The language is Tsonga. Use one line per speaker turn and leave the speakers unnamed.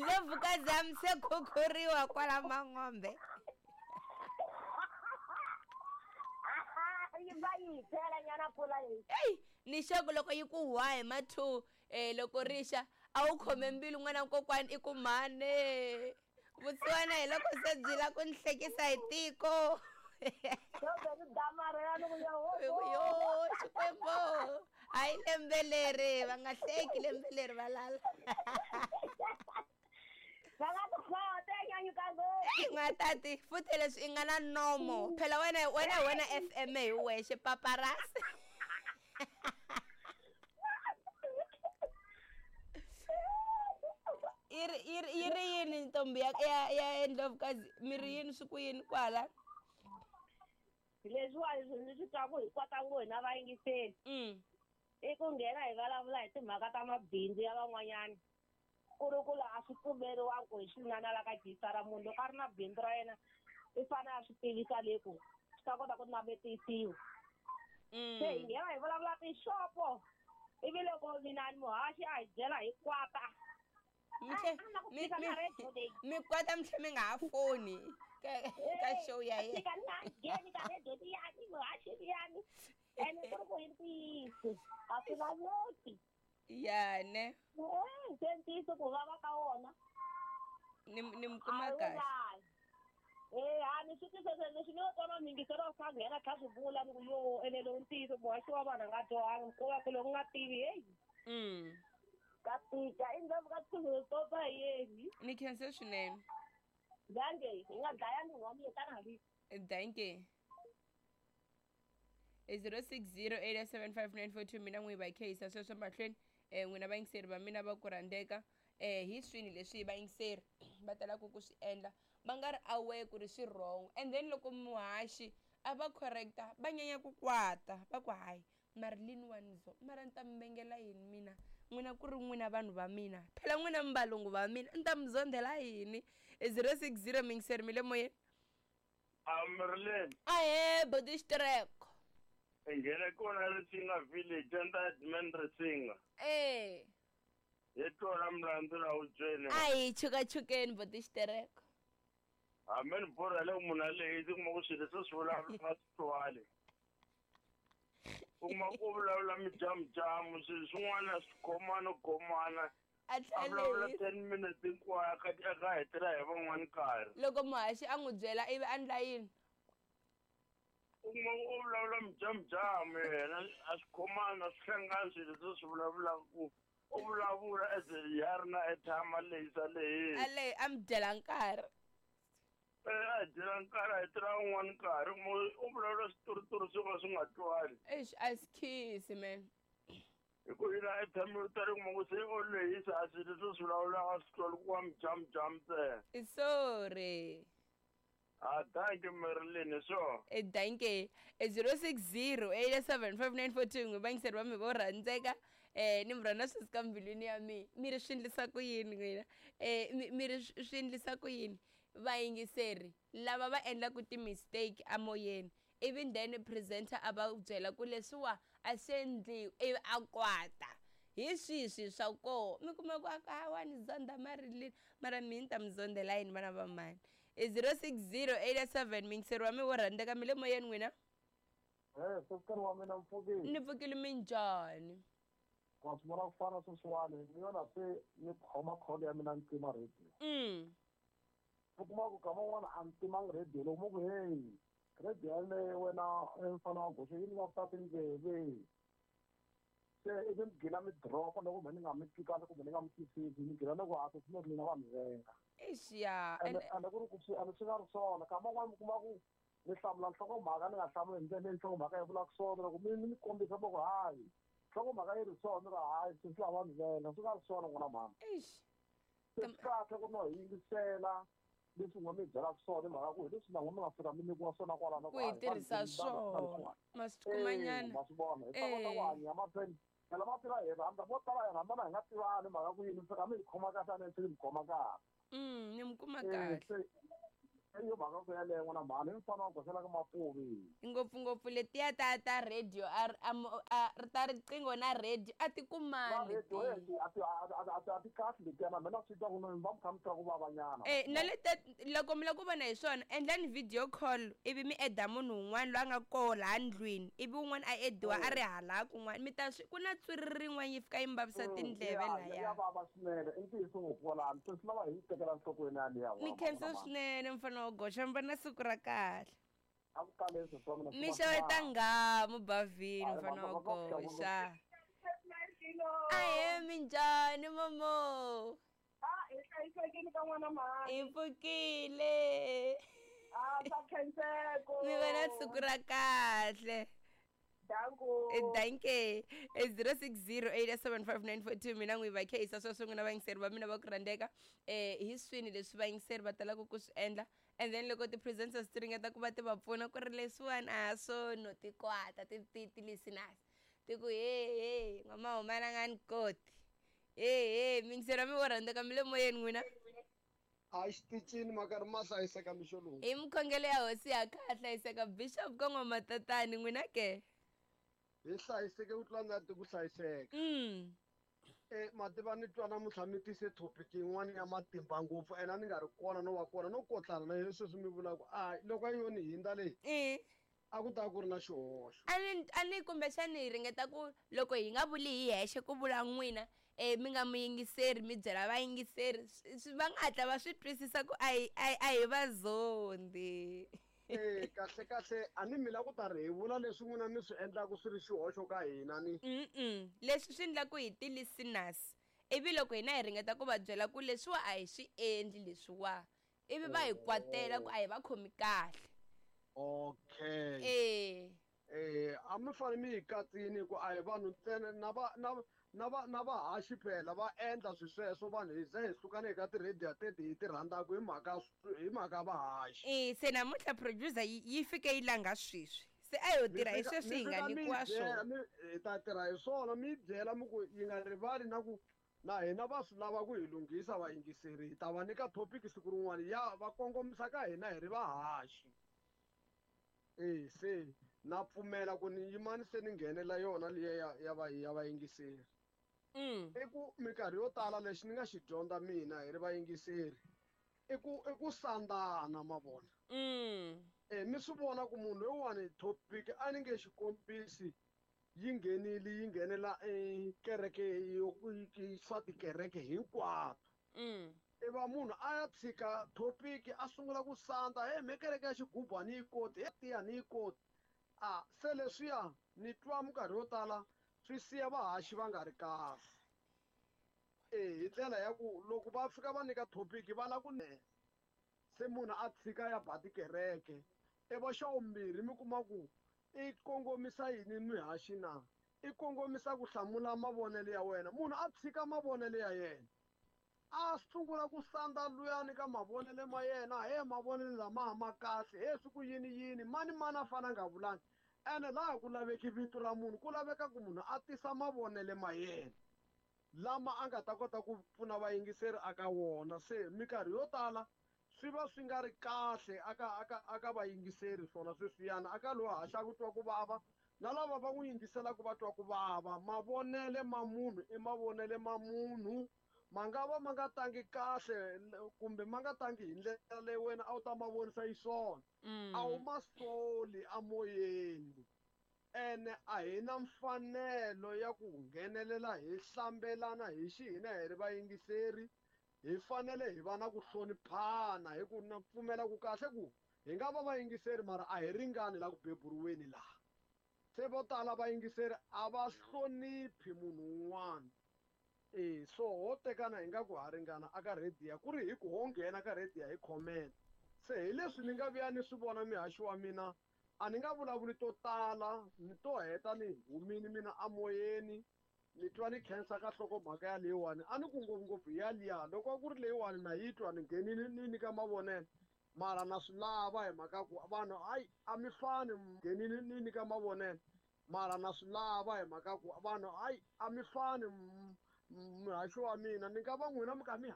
Ndlovukazi se khukhuriwa kwala Mangombe.
Yi va yi hi phela nyana mpfula leyi.
Eyi, ni xaku loko yi ku hwa hi ma 2 loko rixa a wu khome mbilu n'wana kokwani i ku mhane. Vusiwana hi loko se byi la ku ni hlekisa hi tiko. Yo Xikwembu, hayi lembe leri va nga hleki lembe leri va lala.
Va nga ku khota nyanyuka ngopfu.
N'watati, futhi leswi i nga na nomo. Phela wena wena wena FM hi wexe paparazzi. Yi ri yi ri yi ri yini ntombi ya ya ya Ndlovukazi mi ri yini swi ku yini kwala?
Leswiwani swi ndzi swi twaku hi kwata ngo hina vayingiseli. I ku nghena hi vulavula hi timhaka ta mabindzu ya van'wanyana. Ku ri ku laha swi pfumeriwaka ku hi xinana la ka Gisara munhu loko a ri na bindzu ra yena i fanele a swi tivisa le ku swi ta kota ku navetisiwa. Se hi nghena hi vulavula tixopo ivi loko mina ni muhaxi a hi byela hi kwata.
Mi kwata mi tlhe mi nga ha foni ka show ya yena.
Fika ni nga ngheni ka radio liyani muhaxi liyani ene ku ri ku hi ntiyiso a swi laveki.
Ya ne.
Se ntiyiso ku vava ka wona.
Ni ni mi kuma kahle.
A ni swi twisisa leswi ni yo twa miyingiselo wa kha nghena kha swi vula ni ku yo ene lowu ntiyiso muhaxi wa vanhu a nga dyohangi ko va ku loko u nga tivi heyi. Ka tika i ndhawu ka tshuku yeni.
Ni khense swinene.
Danke, hi nga dlaya munhu wa mina tana hi.
Danke. 06087594 mina n'wi va khehisa sweswo mahlweni n'wina vayingiseri va mina va ku rhandzeka hi swini leswi vayingiseri va talaka ku swi endla va nga ri aware ku ri swi wrong and then loko muhaxi a va correcta va nyanya ku kwata va ku hayi Marilyn wa ni zo mara ni ta mi vengela yini mina n'wina ku ri n'wina vanhu va mina phela n'wina mi valungu va mina ni ta mi zondhela yini 060 miyingiseri mi le moyeni.
Marilyn.
Ahee boti Xitireko.
Hi nghene kona Risinga village a ni ta Edmund Risinga. Hi tona milandzu la hubyeni.
A hi chukachukeni boti Xitireko.
Hambi ni borha le munhu a lehisi kuma ku swilo leswi swi vulavula nga swi twali. U kuma ku vulavula mijamujamu swilo swin'wana swi khomana khomana.
A
A vulavula 10 minutes hinkwayo a ka hetela hi van'wani nkarhi.
Loko muhaxi a n'wi byela ivi a ndla yini?
U kuma u vulavula mijamujamu yena a swi khomani a swi hlangani swilo leswi swi vulavulaka ku u vulavula as ya ri na airtime a lehisa lehisa.
A lehi a mi dyela nkarhi.
A dyela nkarhi a hetela un'wana nkarhi u vulavula switoritori swo ka swi nga twali.
Eish a swi khisi man.
Hi ku yina airtime yo tala kuma ku se u lehisa a swilo leswi swi vulavulaka swi twali ku wa mijamujamu ntsena.
Sorry.
Ah, thank you Marilyn, hi swona.
Danke. 06087594 n'wi vayingiseri va mi vo rhandzeka ni mi rhandza swi suka mbilwini ya mina. Mi ri swi endlisa ku yini n'wina? Mi ri swi endlisa ku yini vayingiseri lava va endlaka ti-mistake emoyeni ivi then presenter a va byela ku leswiwa a swi endliwi ivi a kwata hi swihi swilo swa koho mi kuma ku a wa ni zonda Marilyn mara mina ni ta mi zondela yini vana va mhani. 060887 miyingiseri wa mi wo rhandzeka mi le moyeni n'wina.
Sesukani wa mina mi pfukile.
Ni pfukile minjhani?
Wa swi vona ku fana sweswiwani ni yona se ni khoma call ya mina ni tima radio. U kuma ku kama un'wana a ni timangi radio loko mo ku hey radio yaleyo wena mfana wa goxe yi ni vavisa tindleve. Se ivi mi gina mi drop-a loko kumbe ni nga mi twi kahle kumbe ni nga mi twisisi mi gina ni ku a swi mina va mi venga.
Eish ya.
Ende ku ri ku swi ende swi nga ri swona kama un'wana mi kuma ku ni hlamula nhlokomhaka ni nga hlamuli hi ndlela leyi nhlokomhaka yi vulaka swona loko mi ni kombisa va ku hayi nhlokomhaka yi ri swona ni ri hayi swi swi lava mi venga swi nga ri swona n'wana mhani.
Eish.
Se swi kahle ku no hi yingisela leswi n'we mi byelaka swona hi mhaka ku hi leswi na n'we mi nga fika mi nyikiwa swona kwalano
ku hi tirhisa swona ma swi kumanyana.
Ma swi vona hi ta kota ku hanya mahlweni phela ma tiva hi rhandza vo tala hi rhandzana hi nga tivani mhaka ku yini mi fika mi hi khoma kahle a ni mi khoma kahle.
Ni mi kuma kahle.
Iyo mhaka ku yaleyo n'wana mhani i mfana wa goxela ka mapuvi.
Ngopfungopfu letiya ta ta radio a ta riqingho na radio a ti kumani.
Na radio a ti a ti kahle letiyana mina swi twa ku mi va mi kha mi twa ku vavanyana.
Na le loko mi lava ku vona hi swona, endlani video call ivi mi eda munhu un'wana loyi a nga koho laha ndlwini, ivi un'wana a ediwa a ri hala kun'wana, mi ta swi ku na tswiri rin'wana yi fika yi mi vavisa tindleve
lahaya. Ya vava swinene, i ntiyiso ngopfu kwalano, se swi lava hi yi tekela nhlokweni yaliya.
Ni khensa swinene mfana wa goxa, mi va na siku ra kahle.
A ku taleni sweswi wa mina.
Mi xeweta nghamu bavhini mfana wa goxa. Ahe, minjhani momo?
Hi hlayisekile ka n'wana mhani.
Hi pfukile.
Swa khenseko.
Mi va na siku ra kahle.
Danko.
Danke. 06087594, mina n'wi va khehisa sweswo n'wina vayingiseri va mina va ku rhandzeka. Hi swini leswi vayingiseri va talaka ku swi endla, and then loko ti-presenters ti ringeta ku va ti va pfuna ku ri leswiwani a swo no tikwata ti-listeners ti ku he he n'wamahumana nga ni koti. He he miyingiseri mi vo rhandzeka, mi le moyeni n'wina.
A xitichini makarhi ma hlayiseka mixo lowu.
Hi mikhongelo ya hosi ya kha hlayiseka bishop ka n'wamatatani, n'wina ke?
Hi hlayiseke ku tlula na ku hlayiseka. Mativa ni twa namuntlha mi tise topic yin'wana ya matimba ngopfu, ene a ni nga ri kona no va kona no kotlana na yena sweswi mi vulaka a loko a yo ni hindza leyi, a ku ta ku ri na xihoxo.
A ni kumbexani hi ringeta ku loko hi nga vuli hi hexe ku vula n'wina, mi nga muyingiseri mi byela vayingiseri, va nga hatla va swi twisisa ku a hi va zondi.
Kahle kahle a ni mi la ku ta ri hi vula leswi n'wina mi swi endlaku swi ri xihoxo ka hina ni.
Leswi swi endlaku hi ti-listeners, ivi loko hina hi ringeta ku va byela ku leswiwa a hi swi endli leswiwa, ivi va hi kwatela ku a hi va khomi kahle.
Okay. A mi fanele mi hi katsini ku a hi vanhu ntsena, na vahaxi phela va endla swi sweswo, vanhu hi ze hi sukana eka ti-radio teti hi ti rhandzaka hi mhaka vahaxi.
Se namuntlha producer yi fike yi langa sweswi, se a yo tirha hi sweswi hi nga nyikiwa swona.
Hi ta tirha hi swona, mi byela mi ku yi nga rivali na ku na hina va swi lava ku hi lunghisa vayingiseri, hi ta va nyika topic siku rin'wana ya va kongomisa ka hina hi ri vahaxi. Se na pfumela ku ni yimani se ni nghenela yona liya ya vayingiseri. I ku minkarhi yo tala lexi ni nga xi dyondza mina hi ri vayingiseri i ku sandana ma vona. Mi swi vona ku munhu loyiwani topic a ni nge xikombisi yi nghenile yi nghenela kereke yo swa tikereke hinkwato. I va munhu a ya tshika topic a sungula ku sandza, he me kereke ya xigubu a ni yi koti, he tiya ni yi koti. A se leswiya ni twa minkarhi yo tala swi siya vahaxi va nga ri kahle. Hi ndlela ya ku loko va fika va nyika topic va lava ku se munhu a tshika ya ba tikereke. I va xa vumbirhi mi kuma ku i kongomisa yini mihaxi na? I kongomisa ku hlamula mavonelo ya wena. Munhu a tshika mavonelo ya yena, a sungula ku sandza luyani ka mavonelo ma yena, he mavonelo lama ma kahle, he swi ku yini yini, mani mani a fana nga vulanga. Ene laha ku laveki vito ra munhu, ku laveka ku munhu a tisa mavonelo ma yena lama a nga ta kota ku pfuna vayingiseri aka wona. Se minkarhi yo tala swi va swi nga ri kahle aka vayingiseri swona sweswiyana, aka loyi haxaka ku twa ku vava na lava va n'wi yingiselaka va twa ku vava. Mavonele ma munhu i mavonele ma munhu, ma nga va ma nga tangi kahle kumbe ma nga tangi hi ndlela leyi wena a wu ta ma vonisa xiswona, a wu ma soli amoyeni. Ene a hi na mfanelo ya ku nghenelela hi hlambelana hi xihina hi ri vayingiseri, hi fanele hi va na ku hloniphana, hi ku na pfumela ku kahle ku hi nga va vayingiseri mara a hi ringani la ku beburiweni laha. Se vo tala vayingiseri a va hloniphi munhu un'wana. So ho tekana hi nga ku ha ringana aka radio, ku ri hi ku ho nghena ka radio hi comment. Se hi leswi ni nga vuya ni swi vona mihaxi wa mina, a ni nga vulavuli to tala, ni to heta ni humini mina amoyeni, ni twa ni khensa ka nhlokomhaka ya leyiwani. A ni ku ngopfungopfu ya liya, loko ku ri leyiwani na yi twa ni nghenile ni nyika mavonelo, mara na swi lava hi mhaka ku vanhu hayi a mi fani, nghenile ni nyika mavonelo, mara na swi lava hi mhaka ku vanhu hayi a mi fani. Muhaxi wa mina ni nga va n'wina mi ka mi